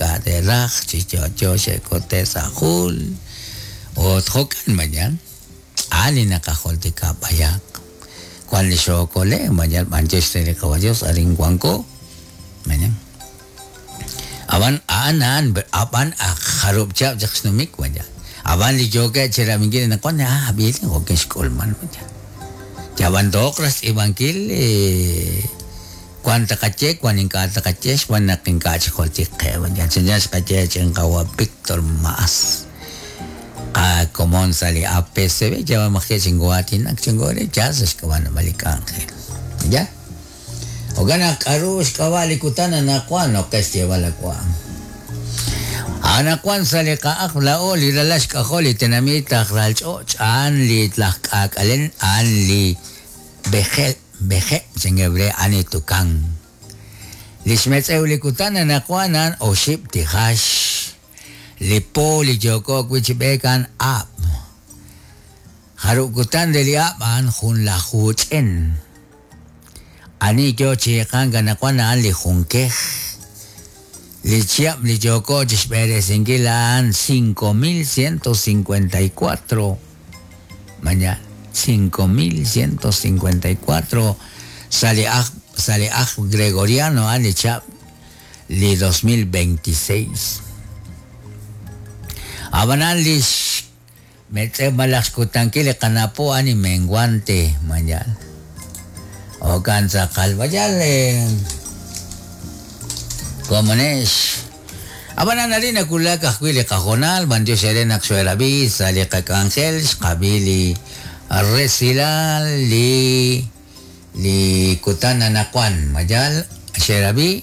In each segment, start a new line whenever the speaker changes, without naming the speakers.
ink'a' te'raj chi yo'yo xe'kute' sa' jul ut jo'kan mañan a'an li naqajultika b'ayaq wan li xookole' mañan b'antiox re li Qawa' Dios arin wanko mañan ab'an a'an a'an ab'an ak jarub' chihab' chaq xnumik mañan ab'an li yookeb' chirab'inkil anaqwan ah ab'il jo'kan xk'ulman mañan yab'an tooq raj xtz'iib'ankil wan taqaye wan ink'a' taqaye xb'aan naq ink'a' chik jultik qe mañan chanchan xqaye ch'in qawa' Víctor Maas qakomon sa' li APCB yab'an maj chingo'aatinak chingore ya sa' xk'ab'a' naab'al li k'anjel ya jo'kan naq k'a'ru xk'ab'a' li kutan anaqwan noqe xyeeb'al awa' anaqwan sa' li qa'aj laa'o li ralal xk'ajol li tenamit aj ralch'och' a'an li laj k'aak'alen a'an li b'ejel b'eje' chingebre a'an li tukan li xmetz'ew li kutan anaqwan a'an oxib' tijax li po li yooko wi' chi b'eek a'an ab' jarub' kutan re li ab' a'an junlaju ch'en ani yo chi iqank anaqwan a'an li junkej li chihab' li yooko chi xb'eresinkil a'an 5154 mañana 5154 sa' li aj sa' li aj gregoriano a'an li chihab' li 2026 ab'anan li xmetz'ew malaj xkutankil li qanapo a'an li menguante mañana jo'kan tz'aqal mayal komonex ab'anan arin nawulak ajwi' li qajoonal b'antiox eere naq xoerab'i sa' li qak'anjel xqab'i li resilal li li kutan anaqwan mayal xerab'i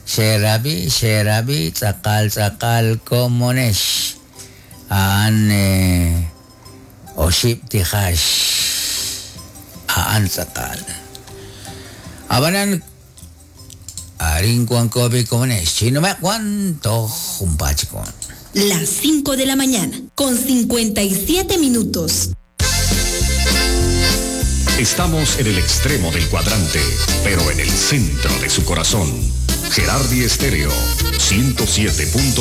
xerab'i xerab'i tz'aqal tz'aqal komonex a'an oxib' tijax a'an tz'aqal ab'anan arin wanko bi komonex chinumeq wan toj junpaat chik wan
Las 5 de la mañana, con 57 minutos.
Estamos en el extremo del cuadrante, pero en el centro de su corazón. Gerardi Estéreo, 107.3.